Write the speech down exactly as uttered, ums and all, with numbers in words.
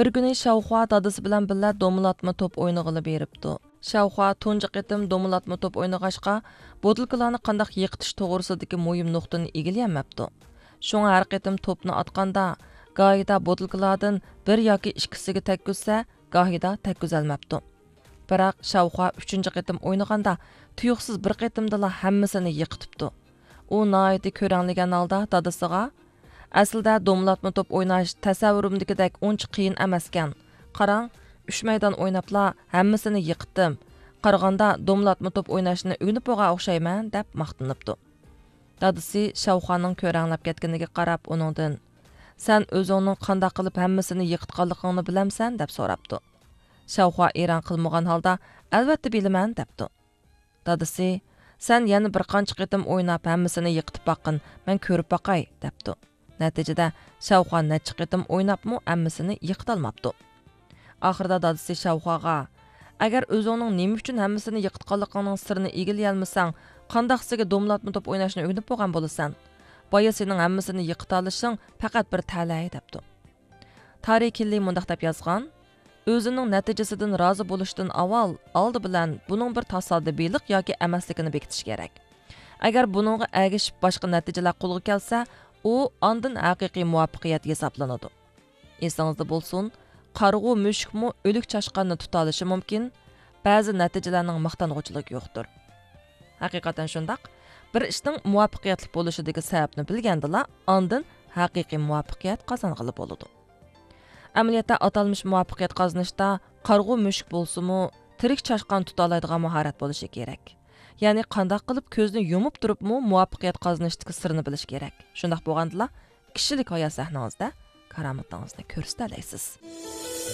بىر كۈنى شاۋخۇا دادىسى بىلەن بىللە دومىلاتما توپ ئوينىغىلى بېرىپتۇ. شاۋخۇا تۇنجى قېتىم دومىلاتما توپ ئوينىغاچقا، بوتۇلكىلارنى قانداق يېقىتىش توغرىسىدىكى مۇھىم نۇقتىنى ئىگىلىيەلمەپتۇ. شۇڭا ھەر قېتىم توپنى ئاتقاندا، گاھىدا بوتۇلكىلاردىن بىر ياكى ئىككىسىگە تەگكۈزسە، گاھىدا تەگكۈزەلمەپتۇ. بىراق شاۋخۇا ئۈچىنچى قېتىم ئوينىغاندا، تۇيۇقسىز بىر قېتىمدىلا ھەممىسىنى يىقىتىپتۇ. ئۇ ناھايىتى كۆرەڭلىگەن ھالدا دادىسىغا، ئەسلىدە دومىلاتما توپ ئويناش تەسەۋۋۇرۇمدىكىدەك ئۇنچە قىيىن ئەمەسكەن. قاراڭ، ئۈچ مەيدان ئويناپلا ھەممىسىنى يىقىتتىم. قارىغاندا دومىلاتما توپ ئويناشنى ئۆگىنىپ بولغان ئوخشايمەن، دەپ ماختىنىپتۇ. دادىسى شاۋخۇانىڭ كۆرەڭلەپ كەتكىنىگە قاراپ ئۇنىڭدىن، سەن ئۆزۈڭنىڭ قانداق قىلىپ ھەممىسىنى يىقىتقانلىقىڭنى بىلەمسەن؟ دەپ سوراپتۇ. شاۋخۇا ئېرەن قىلمىغان ھالدا، ئەلۋەتتە بىلىمەن، دەپتۇ. دادىسى، سەن يەنە بىر قانچە قېتىم ئويناپ ھەممىسىنى يىقىتىپ باققىن، مەن كۆرۈپ باقاي، دەپتۇ. نەتىجىدە شاۋخۇا نەچچە قېتىم ئويناپمۇ ھەممىسىنى يىقىتالماپتۇ. ئاخىرىدا دادىسى شاۋخۇاغا، ئەگەر ئۆزۈڭنىڭ نېمە ئۈچۈن ھەممىسىنى يىقىتقانلىقىڭنىڭ سىرىنى ئىگىلىيەلمىسەڭ، قانداق سىزگە دومىلاتما توپ ئويناشنى ئۆگىنىپ بولغان بولىسەن؟ بايا سېنىڭ ھەممىسىنى يىقىتالىشىڭ پەقەت بىر تەلەي، دەپتۇ. تارى كىللى مۇنداق دەپ يازغان، ئۆزىنىڭ نەتىجىسىدىن رازى بولۇشتىن ئاۋۋال، ئالدى بىلەن بۇنىڭ بىر تاسادىپىيلىق ياكى ئەمەسلىكىنى بېكىتىش كېرەك. ئەگەر بۇنىڭغا ئەگىشىپ باشقا نەتىجىلەر قولغا كەلسە، ئۇ ئاندىن ھەقىقىي مۇۋەپپەقىيەت ھېسابلىنىدۇ. ئېسىڭىزدە بولسۇن، قارىغۇ مۈشۈكمۇ ئۆلۈك چاشقاننى تۇتالىشى مۇمكىن، بەزى نەتىجىلەرنىڭ ماختانغۇچىلىقى يوقتۇر. ھەقىقەتەن شۇنداق. بىر ئىشنىڭ مۇۋەپپەقىيەتلىك بولۇشىدىكى سەۋەبنى بىلگەندىلا، ئاندىن ھەقىقىي مۇۋەپپەقىيەت قازانغىلى بولىدۇ. ئەمەلىيەتتە، ئاتالمىش مۇۋەپپەقىيەت قازىنىشتا قارىغۇ مۈشۈك بولسىمۇ، تىرىك چاشقان تۇتالايدىغان ماھارەت بولۇشى كېرەك. يەنى قانداق قىلىپ كۆزنى يۇمۇپ تۇرۇپمۇ مۇۋەپپەقىيەت قازىنىشتىكى سىرنى بىلىش كېرەك. شۇنداق بولغاندىلا، كىشىلىك ھايات سەھنىڭىزدە كارامىتىڭىزنى كۆرسىتەلەيسىز.